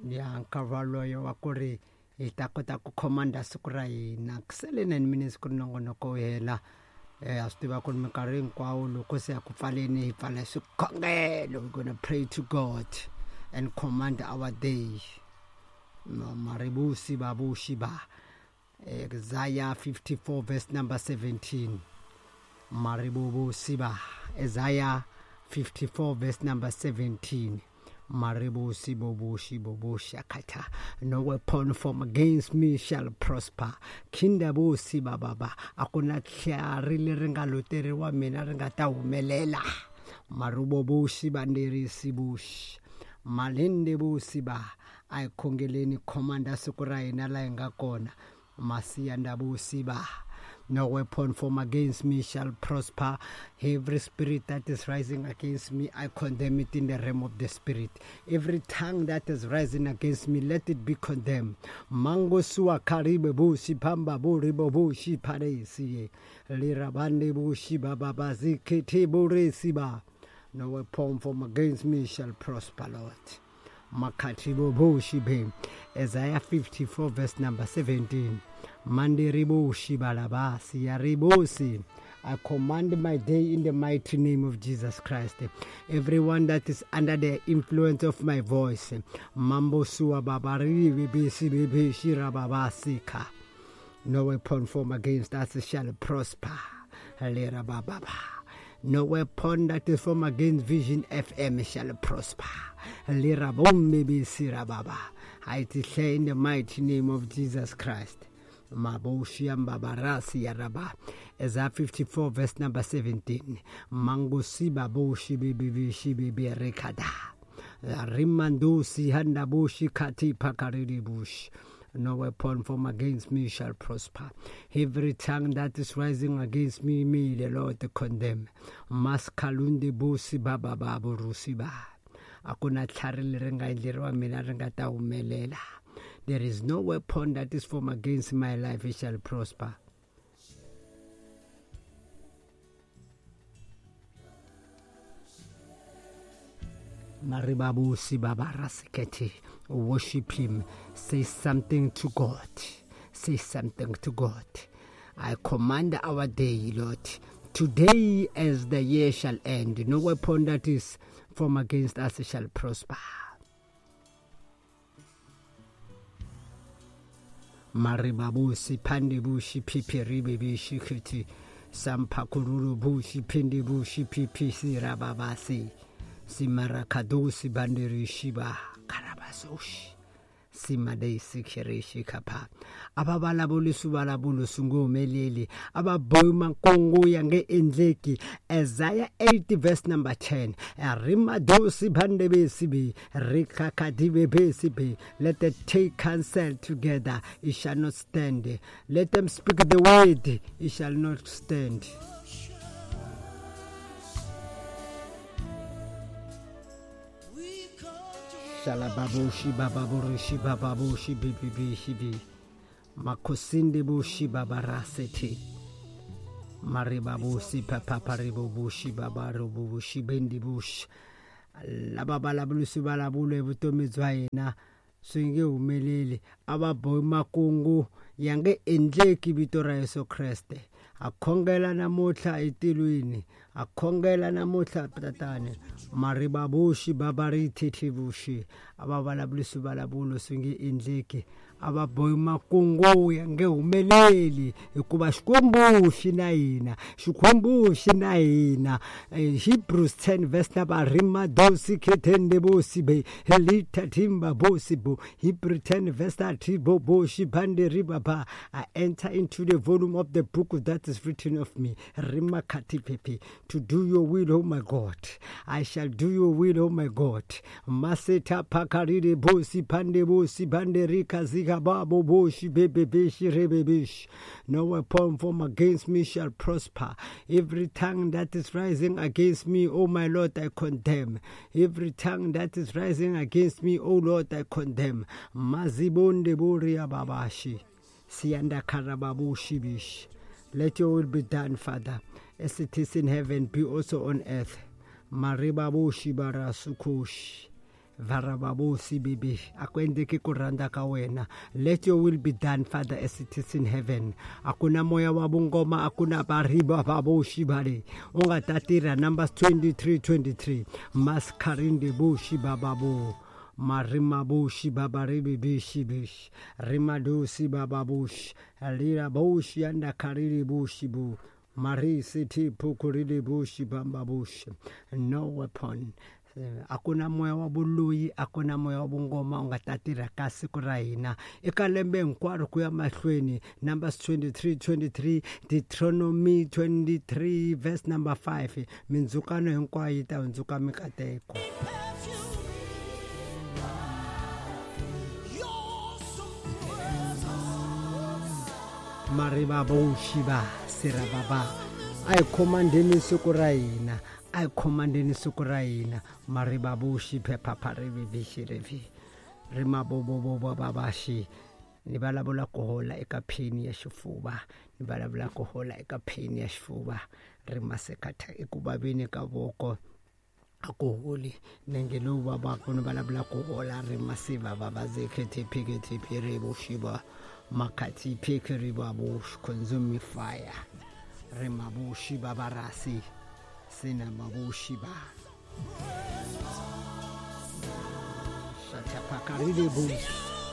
Ya nkarhi waloyo wa ku ri hi ta kota ku khomanda siku ra hina ku sele 9 minutes ku ri nongonoko wu hela. Ha swi tiva ku ri minkarhi hinkwawo loko se ya ku pfaleni hi pfala swikhongelo. We gonna pray to God and command our day. Maribusi babushi ba Isaiah 54 verse number 17. Maribubusi ba Isaiah 54 verse number 17. Maribusi bobushi bobushi akata. No weapon formed against me shall prosper. Kindabusi bababa. Akuna tlhari leri nga loteriwa mina ri nga ta humelela. Marubobushi banderisi bushi. Malinde busi ba. A hi khongeleni khomanda siku ra hina la hi nga kona. Masiyanda ba. No weapon formed against me shall prosper. Every spirit that is rising against me, I condemn it in the realm of the spirit. Every tongue that is rising against me, let it be condemned. Mango sua karibe bushi pamba buri bobushi paresi. Lirabande bushi baba bazikiti buresi ba. No weapon formed against me shall prosper, Lord. Makatibo bushi be. Isaiah 54 verse number 17. Mandiribo shibalabasi yaribosi. I command my day in the mighty name of Jesus Christ. Everyone that is under the influence of my voice, Mambo sua babari bibisi bibi shirababasika. No weapon formed against us shall prosper. Lera bababa. No weapon that is formed against Vision FM shall prosper. Lera bombe baba. I declare in the mighty name of Jesus Christ. Maboshi ambabarasi yaraba. Isaiah 54 verse number 17. Mangosi baboshi bibi bibi rekada. Rimandosi handaboshi kati pakariri bush. No weapon formed against me shall prosper. Every tongue that is rising against me, may the Lord condemn. Maskalunde bosi baba babu rusiba. Akuna tlhari leri nga endleriwa mina ri nga ta humelela. There is no weapon that is formed against my life, it shall prosper. Maribabusi babarasekete. Worship him. Say something to God. Say something to God. I command our day, Lord. Today, as the year shall end, no weapon that is formed against us shall prosper. Maribabusi pandibushi pipiribibishi kiti sampakururu bushi pindibushi pipisi rababasi simarakadosi bandirishiba karabasoshi simadesi kirishi kapa ababalabulisi balabulo sungumeleli ababoyi makongo yange endleki. Isaiah 80 verse number 10. Rimadosi bandebesi be rikakadibe be. Let them take counsel together, it shall not stand. Let them speak the word, it shall not stand. We come to Shalababushi bababurushi bababushi bibibi shibi makosinde bushi babarasete maribabusi papaparibubushi babarubushi bendibushi lava vulavulisi vulavula evutomi bya hina swi nge humeleli. A va bohi makungu ya nge endleki vito ra Yesu Kreste. A khongela namuntlha etilweni, a khongela namuntlha tatani. Maribabushi babarithethibushi a va vulavulisi vulavulo swi nge endleki. A va bohi makungu ya nge humeleli hikuva Xikwembu xi na hina, Xikwembu xi na hina. Hebrews 10 verse number rimadosi khetende bosi be helita timba bosi bo. Hebrew 10 verse 30 bo boshi bande riba ba. I enter into the volume of the book that is written of me. Rimakati pepe, to do your will, oh my God. I shall do your will, oh my God. Maseta pakarire bosi pande bosi bande rika zika babo boshi bebe beshi rebe beshi. No weapon formed against me shall prosper. Every tongue that is rising against me, oh my Lord, I condemn. Every tongue that is rising against me, oh Lord, I condemn. Mazibonde boria babashi. Sianda karababushi bish. Let your will be done, Father, as it is in heaven, be also on earth. Maribabushi barasukush. Varababosi bibi a ku endleki ku rhandza ka wena. Let your will be done, Father, as it is in heaven. A ku na moya wa vungoma, a ku na variba vaboxi vale u nga ta tirha. Numbers 23 23 maskarindi boxi bababo marimaboxi babaribibishi bishi rimadosi bababoxi liraboxi andakaririboxi bu marisi tiphukurili boxi bambaboxi. No weapon. A ku na moya wa vuloyi, a ku na moya wa vungoma u nga ta tirha ka siku ra hina eka lembe hinkwaro ku ya mahlweni. Numbers 23 23, Deuteronomy 23 verse number 5, mindzhukano hinkwayo yi ta hundzuka mikateko. Mariva voxiva sirababa, a hi khomandeni siku ra hina, a hi khomandeni siku ra hina. Mariva voxi phephapharivivixirevi rimabobobobabaxi. Ni vulavula ku hola eka pain ya xifuva, ni vulavula ku hola eka pain ya xifuva, rimasekatha eku vaveni ka voko a ku holi, nenge lowu vavaka, ni vulavula ku hola rimasiva vavazekhethiphikethiphirivoxiva makhathi phekerivabox consuming fire rimaboxi vavarasi sinamaboxi va shatapakarilebox.